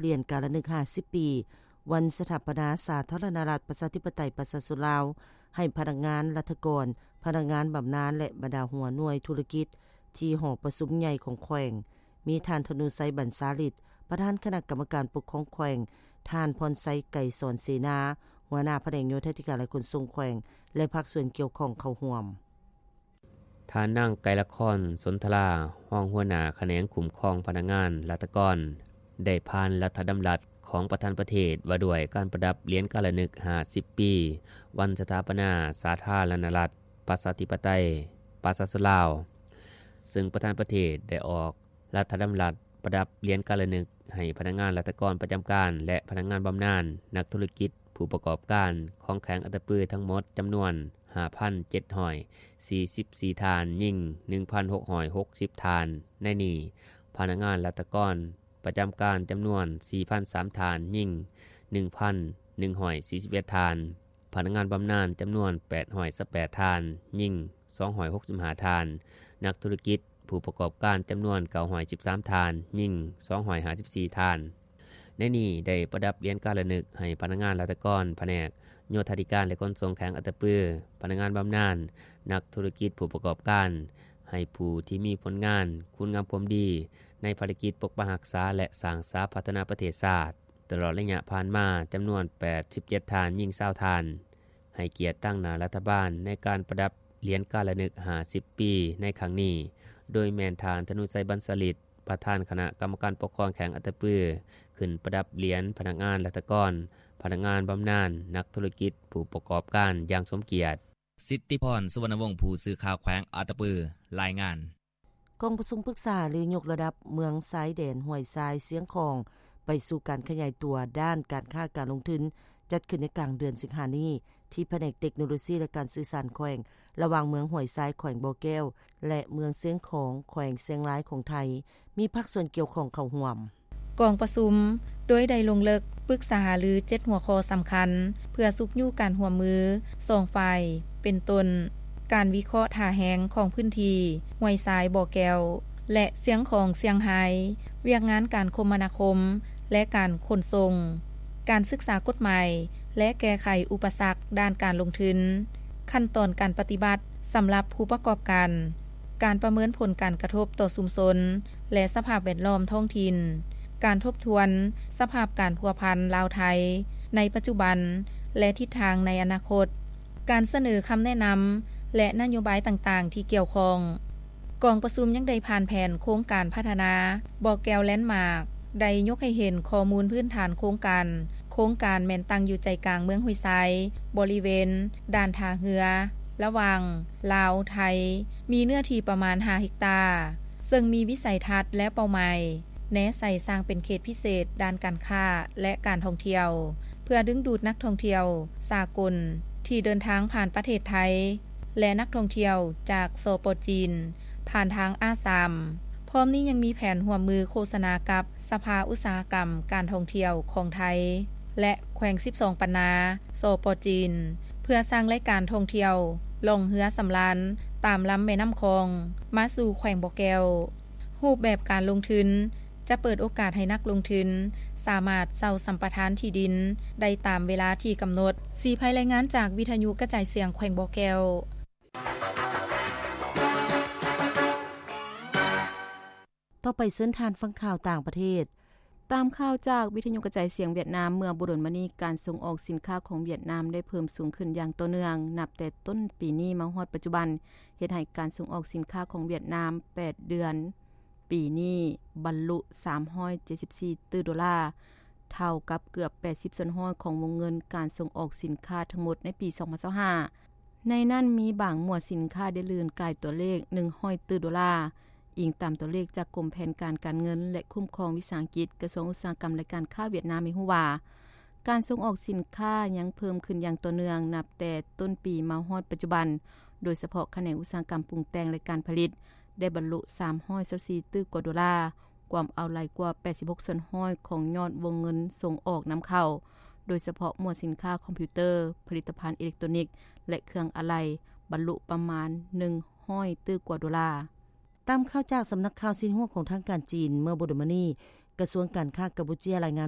ຫຼຽນກາລະນຶກຫ້າສິບປີ ວັນສະຖາປະນາສາທາລະນະລັດ ປະຊາທິປະໄຕ ປະຊາຊົນລາວ ໃຫ້ພະນັກງານລັດຖະກອນ, ພະນັກງານບຳນານ ແລະ ບັນດາຫົວໜ່ວຍທຸລະກິດ ທີ່ຫໍປະຊຸມໃຫຍ່ຂອງແຂວງ, ມີທ່ານ ທະນູໄຊ ບັນຊາລິດ ປະທານຄະນະກຳມະການປົກຄອງແຂວງ, ທ່ານ ພອນໄຊ ໄກສອນເສນາ ຫົວໜ້າພະແນກໂຍທາທິການ ແລະ ຂົນສົ່ງແຂວງ ແລະ ພາກສ່ວນກ່ຽວຂ້ອງເຂົ້າຮ່ວມ. ທ່ານນາງ ໄກລະຄອນ ສົນທະລາ ຮອງຫົວໜ້າຂະແໜງຄຸ້ມຄອງພະນັກງານລັດຖະກອນ ໄດ້ຜ່ານລັດຖະດຳລັດຂອງປະທານປະເທດ ວ່າດ້ວຍການປະດັບຫຼຽນກາລະນຶກຫ້າສິບປີ ວັນສະຖາປະນາສາທາລະນະລັດ ປະຊາທິປະໄຕ ປະຊາຊົນລາວ, ເຊິ່ງປະທານປະເທດໄດ້ອອກລັດຖະດຳລັດປະດັບຫຼຽນກາລະນຶກໃຫ້ພະນັກງານລັດຖະກອນປະຈຳການ ແລະ ພະນັກງານບຳນານ, ນັກທຸລະກິດ, ຜູ້ປະກອບການຂອງແຂວງອັດຕະປືທັງໝົດຈຳນວນຫ້າພັນເຈັດຮ້ອຍສີ່ສິບສີ່ທ່ານ, ຍິງໜຶ່ງພັນຫົກຮ້ອຍຫົກສິບທ່ານ. ໃນນີ້, ພະນັກງານລັດຖະກອນປະຈຳການຈຳນວນສີ່ພັນສາມທ່ານ, ຍິງໜຶ່ງພັນໜຶ່ງຮ້ອຍສີ່ສິບເອັດທ່ານ, ພະນັກງານບຳນານຈຳນວນແປດຮ້ອຍຊາວແປດທ່ານ, ຍິງສອງຮ້ອຍຫົກສິບຫ້າທ່ານ, ນັກທຸລະກິດ, ຜູ້ປະກອບການຈຳນວນເກົ້າຮ້ອຍສິບສາມທ່ານ, ຍິງສອງຮ້ອຍຫ້າສິບສີ່ທ່ານ. ໃນນີ້ໄດ້ປະດັບຫຼຽນກາລະນຶກໃຫ້ພະນັກງານລັດຖະກອນພະແນກໂຍທາທິການ ແລະ ຂົນສົ່ງແຂວງອັດຕະປື, ພະນັກງານບຳນານ, ນັກທຸລະກິດ, ຜູ້ປະກອບການ, ໃຫ້ຜູ້ທີ່ມີຜົນງານ, ຄຸນງາມຄວາມດີໃນພາລະກິດປົກປັກຮັກສາ ແລະ ສ້າງສາພັດທະນາປະເທດຊາດ. ຕະຫຼອດໄລຍະຜ່ານມາ, ຈຳນວນແປດສິບເຈັດທ່ານ, ຍິງຊາວທ່ານ, ໃຫ້ກຽດຕາງໜ້າລັດຖະບານໃນການປະດັບຫຼຽນກາລະນຶກຫ້າສິບປີໃນຄັ້ງນີ້, ໂດຍແມ່ນທ່ານ ທະນູໄຊ ບັນສາລິດ, ປະທານຄະນະກຳມະການປົກຄອງແຂວງອັດຕະປື, ຂຶ້ນປະດັບຫຼຽນພະນັກງານລັດຖະກອນ, ພະນັກງານບຳນານ, ນັກທຸລະກິດ, ຜູ້ປະກອບການຢ່າງສົມກຽດ. ສິດທິພອນ ສຸວັນນະວົງ ຜູ້ສື່ຂ່າວແຂວງອັດຕະປື ລາຍງານ. ກອງປະຊຸມປຶກສາຫາລືຍົກລະດັບເມືອງຊາຍແດນຫ້ວຍຊາຍ ຊຽງຂອງ ໄປສູ່ການຂະຫຍາຍຕົວດ້ານການຄ້າການລົງທຶນ ຈັດຂຶ້ນໃນກາງເດືອນສິງຫານີ້ ທີ່ພະແນກເຕັກໂນໂລຊີ ແລະ ການສື່ສານແຂວງ ລະຫວ່າງເມືອງຫ້ວຍຊາຍ ແຂວງບໍ່ແກ້ວ ແລະ ເມືອງຊຽງຂອງ ແຂວງຊຽງລາຍຂອງໄທ ມີພາກສ່ວນກ່ຽວຂ້ອງເຂົ້າຮ່ວມ. ກອງປະຊຸມໂດຍໄດ້ລົງເລິກປຶກສາຫາລືເຈັດຫົວຂໍ້ສຳຄັນ ເພື່ອຊຸກຍູ້ການຮ່ວມມື ສອງຝ່າຍ ເປັນຕົ້ນ ການວິເຄາະທ່າແຮງຂອງພື້ນທີ່ຫ້ວຍຊາຍ ບໍ່ແກ້ວ ແລະ ຊຽງຂອງ ຊຽງຮາຍ, ວຽກງານການຄົມມະນາຄົມ ແລະ ການຂົນສົ່ງ, ການສຶກສາກົດໝາຍ ແລະ ແກ້ໄຂອຸປະສັກດ້ານການລົງທຶນ, ຂັ້ນຕອນການປະຕິບັດສຳລັບຜູ້ປະກອບການ, ການປະເມີນຜົນການກະທົບຕໍ່ຊຸມຊົນ ແລະ ສະພາບແວດລ້ອມທ້ອງຖິ່ນ, ການທົບທວນສະພາບການພົວພັນລາວ-ໄທໃນປັດຈຸບັນ ແລະ ທິດທາງໃນອະນາຄົດ, ການສະເໜີຄຳແນະນຳ ແລະ ນະໂຍບາຍຕ່າງໆທີ່ກ່ຽວຂ້ອງ. ກອງປະຊຸມຍັງໄດ້ຜ່ານແຜນໂຄງການພັດທະນາບໍ່ແກ້ວແລນມາກ, ໄດ້ຍົກໃຫ້ເຫັນຂໍ້ມູນພື້ນຖານໂຄງການ. ໂຄງການແມ່ນຕັ້ງຢູ່ໃຈກາງເມືອງຫ້ວຍຊາຍ, ບໍລິເວນດ່ານທ່າເຮືອ ລະຫວ່າງລາວ-ໄທ, ມີເນື້ອທີ່ປະມານຫ້າເຮັກຕາ, ເຊິ່ງມີວິໄສທັດ ແລະ ເປົ້າໝາຍແນໃສ່ສ້າງເປັນເຂດພິເສດດ້ານການຄ້າ ແລະ ການທ່ອງທ່ຽວ ເພື່ອດຶງດູດນັກທ່ອງທ່ຽວສາກົນທີ່ເດີນທາງຜ່ານປະເທດໄທ ແລະ ນັກທ່ອງທ່ຽວຈາກ ສປ ຈີນ ຜ່ານທາງອາສາມ. ພ້ອມນີ້ຍັງມີແຜນຮ່ວມມືໂຄສະນາກັບສະພາອຸດສາຫະກຳການທ່ອງທ່ຽວຂອງໄທ ແລະ ແຂວງສິບສອງປັນນາ ສປ ຈີນ ເພື່ອສ້າງລາຍການທ່ອງທ່ຽວລ່ອງເຮືອສຳລານຕາມລຳແມ່ນ້ຳຂອງມາສູ່ແຂວງບໍ່ແກ້ວ. ຮູບແບບການລົງທຶນຈະເປີດໂອກາດໃຫ້ນັກລົງທຶນສາມາດເຊົ່າສຳປະທານທີ່ດິນໄດ້ຕາມເວລາທີ່ກຳນົດ. ສີໄພ ລາຍງານຈາກວິທະຍຸກະຈາຍສຽງແຂວງບໍ່ແກ້ວ. ຕໍ່ໄປເຊີນທ່ານຟັງຂ່າວຕ່າງປະເທດ. ຕາມຂ່າວຈາກວິທະຍຸກະຈາຍສຽງຫວຽດນາມ, ເມື່ອບໍ່ດົນມານີ້ ການສົ່ງອອກສິນຄ້າຂອງຫວຽດນາມໄດ້ເພີ່ມສູງຂຶ້ນຢ່າງຕໍ່ເນື່ອງ ນັບແຕ່ຕົ້ນປີນີ້ມາຮອດປັດຈຸບັນ, ເຮັດໃຫ້ການສົ່ງອອກສິນຄ້າຂອງຫວຽດນາມແປດເດືອນປີນີ້ບັນລຸສາມຮ້ອຍເຈັດສິບສີ່ຕື້ໂດລາ, ເທົ່າກັບເກືອບແປດສິບສ່ວນຮ້ອຍຂອງວົງເງິນການສົ່ງອອກສິນຄ້າທັງໝົດໃນປີສອງພັນຊາວຫ້າ. ໃນນັ້ນມີບາງໝວດສິນຄ້າໄດ້ລື່ນກາຍຕົວເລກໜຶ່ງຮ້ອຍຕື້ໂດລາ, ອີງຕາມຕົວເລກຈາກກົມແຜນການການເງິນ ແລະ ຄຸ້ມຄອງວິສາຫະກິດ, ກະຊວງອຸດສາຫະກຳ ແລະ ການຄ້າຫວຽດນາມໃຫ້ຮູ້ວ່າ, ການສົ່ງອອກສິນຄ້າຍັງເພີ່ມຂຶ້ນຢ່າງຕໍ່ເນື່ອງນັບແຕ່ຕົ້ນປີມາຮອດປັດຈຸບັນ, ໂດຍສະເພາະຂະແໜງອຸດສາຫະກຳປຸງແຕ່ງ ແລະ ການຜະລິດ ໄດ້ບັນລຸສາມຮ້ອຍຊາວສີ່ຕື້ກວ່າໂດລາ, ກວມເອົາຫຼາຍກວ່າແປດສິບຫົກສ່ວນຮ້ອຍຂອງຍອດວົງເງິນສົ່ງອອກນຳເຂົ້າ, ໂດຍສະເພາະໝວດສິນຄ້າຄອມພິວເຕີ, ຜະລິດຕະພັນອີເລັກໂຕນິກ ແລະ ເຄື່ອງອາໄຫຼ່ ບັນລຸປະມານໜຶ່ງຮ້ອຍຕື້ກວ່າໂດລາ. ຕາມຂ່າວຈາກສຳນັກຂ່າວຊິນຫົວຂອງທາງການຈີນ, ເມື່ອບໍ່ດົນມານີ້ ກະຊວງການຄ້າກຳປູເຈຍ ລາຍງານ